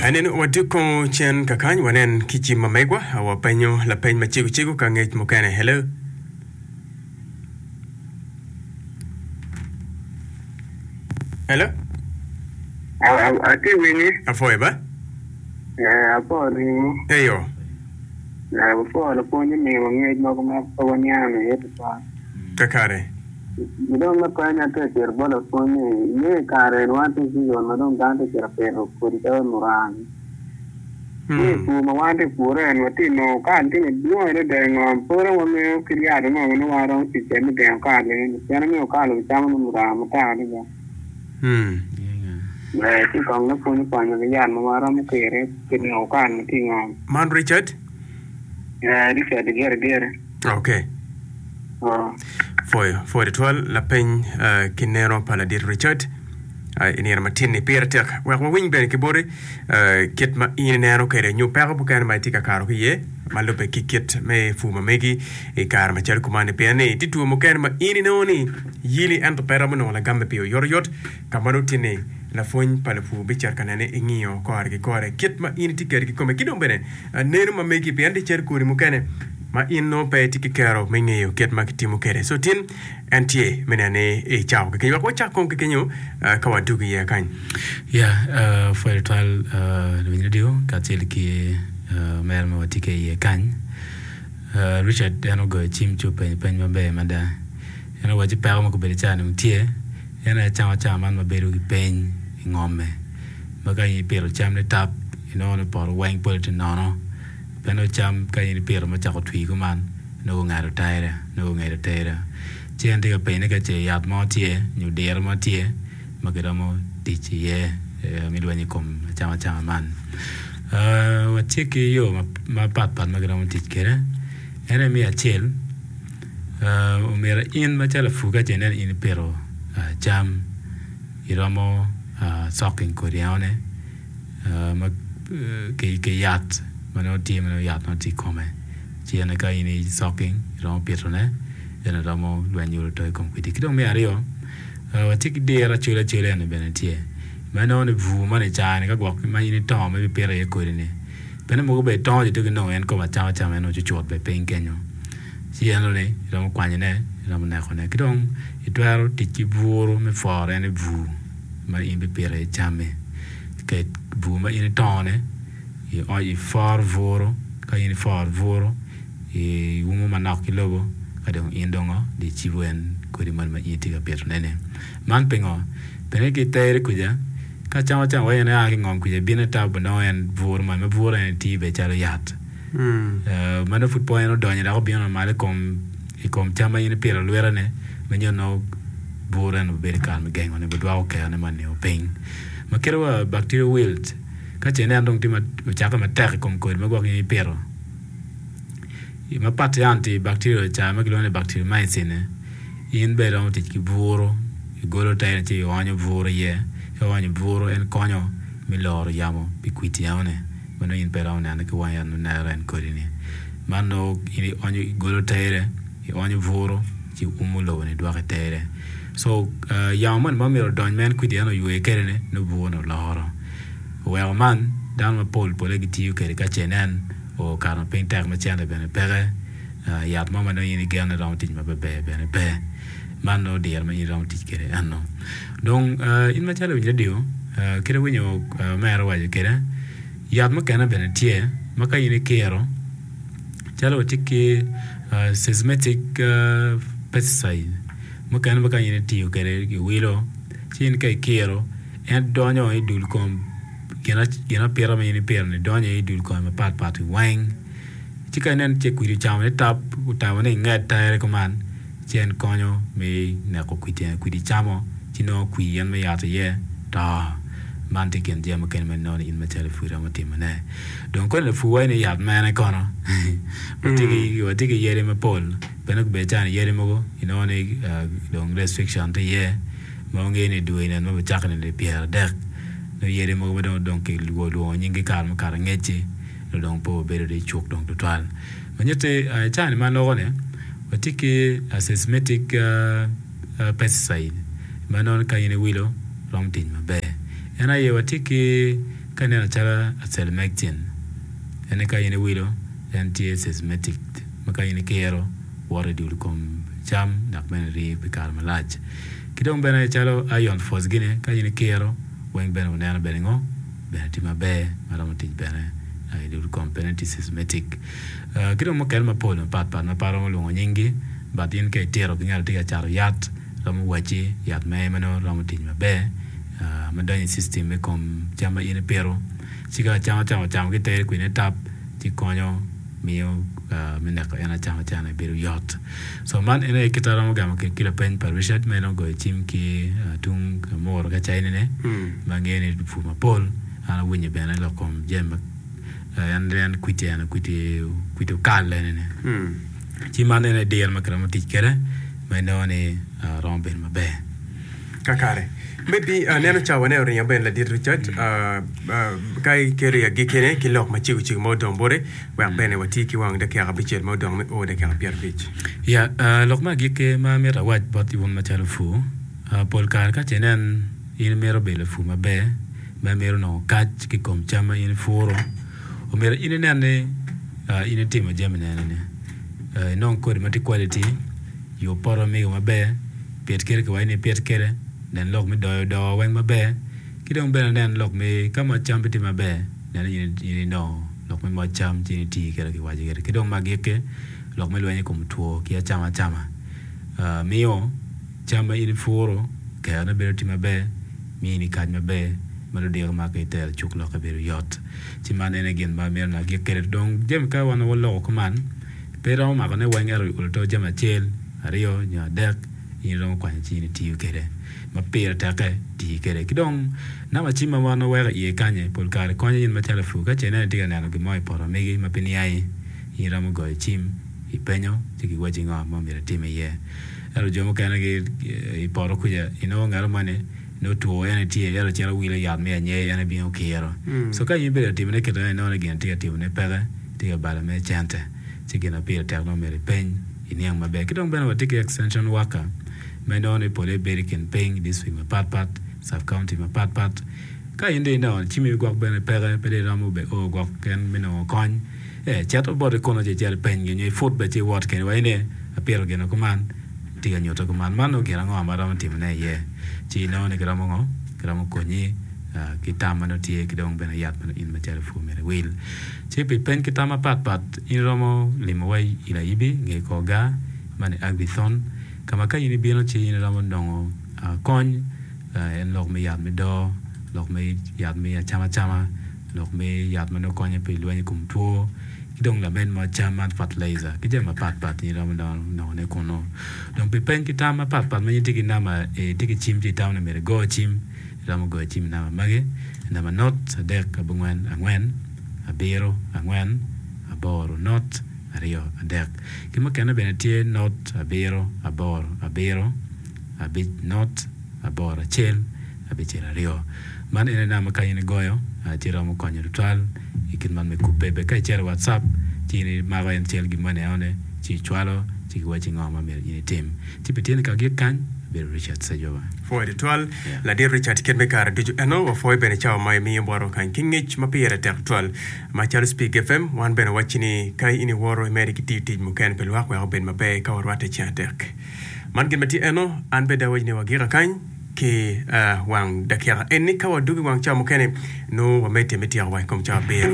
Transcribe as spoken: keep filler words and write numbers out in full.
Anen waduko cen kakany wanen ki cim ma megwa wapenyo lapeny macego cego ka ngec mukene. Hello. Hello. Atye winyi. Afoyo ba? Eh, apo ringo. Eyo. Eh, apo lapwony omiyo ngec mogo ma pe waniang iye tutwal. Kakare. Dong lapeny atye ka cito bot lapwony ni inge i kare ni wan tye i season ma dong dano tye ka cito pito kodi calo muranga. Ni i pur ma wan tye ka pure en watye ka nongo kal tye madwong adada i ngom. Pe dong wangeyo kit yat ango ma nongo wan romo tic kwede me gengo kal eni. Pien angeyo kal obicamo nongo muranga matek adada. Hmm. Eh, ci kong lapwony okonyo ki yat ma waromo kire pi neko kal ma tye i ngom. Man Richard? Eh, Richard gire gire. Okay. Oh. Pwoyo, pwoyo tutwal lapeny uh, ki neno pa ladit Richard uh, i nino matin-ni pire tek wek wawiny bene ki boti uh, kit ma in ineno kwede nyo peko mukene ma itye ka kato ki iye ma lubbe ki kit me pur ma megi i kare macalo kuman-ni pien ni tye two mukene ma in inongo ni yili ento pe romo nongo lagamme pi oyotoyot ka ma nongo tye ni lapwony pa lupur bicito ka nene ingiyo kore ki kore kit ma in itye kwede kikome ki dong bene uh, neno ma megi pien tye cal kodi mukene ma in nongo pe itye ki kero me ngeyo kit ma kitimo kwede. So tin en tye me neno ni icako ki kenyo. Wek wacak kong ki kenyo uh, ka wadugo iye kany. Ya, uh, pwoyo tutwal uh, luwiny radio kacel ki uh, mere ma watye ki iye kany. Uh, Richard en ogoyo cim ci openyo peny maber mada. En owaco peko ma kobedo caa ni tye en aye camo acama man ma bedo ki peny i ngome. Ma ka in ipito cam ni tap inongo ni poto weng pole tye nono. Pe nongo cam ka in ipito ma ocako twi kuman nongo ongado tere nongo ongedo tere. Ci en tye ka penyo ni ka ce yat mo tye nyo diro mo tye ma kiromo tic iye eh, me lweny i kom acamacama man. Uh, watye ki yo mapat pat ma kiromo tic kwede. En aye me acel uh, omyero in macalo lapur ka ce ineno in ipito uh, cam iromo uh, soking kodi enone uh, ma uh, ki, ki yat ma nongo tye ma nongo yat nongo tye i kome ci en ka in i soking iromo pitone en romo lweny yudo to i kom kwidi. Ki dong me aryo uh, watye ki diro acwele acwele eni bene tye ma inongo ni bur man i caa-ni ka gwok ma in itongo ma ibipito iye kodi-ni pien mogo bene itongo ci dong inongo en kom acama acama en ocucut bene piny kenyo ci eno-ni iromo kwanyone iromo nekone ki dong itwero tic ki buru me pworo en i bur ma in ibipito iye cammi ket bur ma in itongone i ipworo buru ka in ipworo buru iumo manok ki lobo ka dong in dong di icibo en kodi moni ma in itye ka pitone-ni. Man pingo? Pien ki itere kuca ka cam acama wai en aa ki ngom kuca bino itabo nongo en buru moni ma buru en tiyo bene calo yat. Uh, ma nongo pud po en odonyo dok obino malo i kom i kom cam ma in ipito alwita-ni ma nyo nongo buru en obedo i kare me gengone budwoko kerone moni piny. Ma kite wa bacterial wilt ka ce ineno dong tye ma ocakke matek i kom kodi ma gwok in ipito mapat ki antibacterial ca ma kilwongo ni bacteriomycin in bene iromo tic ki buru igolo tere ci ionyo buru iye ka ionyo buru en konyo me loro yamo pi kwidi enoni ma nongo in pe iromo neno ki wangi ento neno en kodi-ni. Man nongo in ionyo igolo tere ionyo buru ci umo lobo-ni dwoko i tere. So uh, yamo moni ma myero odony ma en kwidi eno oywe kwede-ni nongo buru-ni oloro. Oweko man dano mapol pole gitiyo kwede ka ce inen okato piny tek ma cente bene peke uh, yat mo ma nongo in igeno ni romo tic maber bene pe. Man nongo diro ma in iromo tic kwede eno. Dong uh, in macalo lawiny radio uh, kit awinyo uh, mere owaco kwede yat mukene bene tye ma ka in ikiro calo watye ki uh, systematic uh, pesticide mukene ma ka in itiyo kwede iwilo ci in ka ikiro en donyo i dul kom gin apita ma in ipito-ni donyo i dul kome mapat pat weng ci ka ineno ce kwidi ocamo ni tap otamo ni inged tere kuman ci en konyo me neko kwidi kwidi camo ci nongo kwir en me yat iye to man tye kin jami mukene ma inongo ni in macalo lapur iromo timone. Dong koni lapur waco ni yat mene kono watye ki watye ki yadi mapol bene obedo calo yadi mogo inongo ni uh, dong restriction tye iye ma wangeyo ni dwe nen ma bicako nino pyera adek nongo yadi mogo ma dong dong kilwongo nyinggi kare mukato angec-ci nongo dong pe obedo i cuk dong tutwal. Ma nyutti uh, caa ni ma aloko-ni watye ki uh, systematic uh, uh, pesticide ma nongo ka in iwilo romo tic maber. En aye watye ki ka ineno calo acelmectin en ka in iwilo en tye systematic ma ka in ikiro woto i dul kom cam dok bene rii pi kare malac. Ki dong bene calo iron phos gini ka in ikiro weng bene wuneno bene ngo bene tye maber ma romo tic bene i dul kom bene tye systematic. Ki dong mukene mapol mapat pat ma pe aromo lwongo nyinggi but in ka itito ki ngat ma tye ka cato yat romo wacci yat mere ma nongo romo tic maber ma donyo i system me kom cam ma in ipito ci ka acam acama ocamo ki teri kwede tap ci konyo miyo me neko en acam acama bedo yot. So man en aye kit aromo gamo ki lapeny pa Richard ma en ogoyo cim ki tung Amuru ka caine ma angeyo ni pur mapol an awinyo bene lok kom jami en en kwiti en kwiti kwiti okal enini ci man en aye diro ma kiromo tic kwede ma inongo ni romo bedo maber. Kakare. Maybe aneno cawa ne oringo bene ladit Richard ka ikelo i agikkine ki lok macego cego ma odong boti wek bene wati ki wang dakika abicel ma odong me o dakika pyerabic. Ya, lok me agikki ma amito awac bot wun macalo pur, pol kare ka ce inen in imito bedo lapur maber ma imito nongo kac ki i kom cam ma in ipuro, omyero in inen ni in itimo jami nene-ni. Inong kodi ma tye quality, yub poto mego maber, pit kede kiwaco ni ipit kede, nen lok me doyo doo weng maber, ki dong bene nen lok me ka moc cam pe tye maber, nen ni in inongo lok me moc cam ci in iti kede kiwaco kede. Ki dong me agikki, lok me lweny i kom two ki acama acama miyo cam ma in ipuro kerone bedo tye maber, mini kac maber ma ludito ma ka itero cuk lokke bedo yot. Ci man en aye gin ma amito ni agik kwede. Dong jami ka wan waloko kuman, pe iromo makone weng ento olo jami acel, aryo nyo adek in iromo kwanyo ci in itiyo kwede ma pire tekke tii kwede. Ki dong namba cim ma wan waweko iye kany pol kare konyo in macalo lapur ka ce ineno itye ka neno gin mo i poto megi ma pe niangi in iromo goyo cim ipenyo ci giwacci ngo ma myero itim iye. Ento jo mukene i poto kuca inongo ngat moni nongo two en tye ento cito wilo yat me anyer en ebino kiro. So ka in ibedo ka timone kit meno inongo ni gin itye ka timone peke tye ka balo mere cente ci gin ma pire tek nongo myero ipeny iniang maber. Ki dong bene watye ki extension worker ma inongo ni pole bedo i kin piny district mapat pat sub county mapat pat ka in dong inongo cimmi gwok bene peke pe dong iromo be o gwok en me nongo kony ee cito boti kunu ci icit ipenygi nyo iput bene ci iwot kwede waci ni apito gin kuman tye ka nyutte kuman man nongo gin ango ma aromo timone iye ci inongo ni kiromo ngo kiromo konyi ki tam ma nongo tye ki dong bene yat ma nongo in macalo pur myero iwil. Ci pi peny ki tam mapat pat in iromo limowa i Layibi nge kor gar man i Agithon ka ma ka in ibino ci in iromo nongo kony en lok me yat me doo, lok me yat me acama acama, lok me yat ma nongo konyo pi lweny i kom two ki dong lamed mo cam man fertilizer ki jami mapat pat in iromo nongone kunu. Dong pi peny ki tam mapat pat ma in itye ki namba itye ki cim ci itamo ni myero igo cim iromo goyo cim i namba magi namba not adek abongwen angwen abiro angwen aboro not aryo adek ki mukene bene tye not abiro aboro abiro abic not aboro acel abicel aryo. Man en aye namba ka in igoyo ci romo konyo tutwal i kit man me kubbe bene ka icito i WhatsApp ci in imako en cal gin moni enoni ci icwalo ci giwacci ngo ma myero in itim. Ci pi tyeni ka gik kany abedo Richard Sejoba. Pwoyo tutwal Ladit Richard kit me kare ducu eno wapwoyo bene cawa ma imiyo botwa kany ki ngec ma pire tek tutwal macalo Spik FM wan bene wacci ni ka in iwoto imede ki tiyo tic mukene pi lwak wek obed maber ka warwatte ceng adek. Man gin ma tye eno an bene awaci ni wagika kany ki wang dakika eni ka wadwogo i wang cawa mukene nongo wamedde me tyeko wa i kom cawa abiro.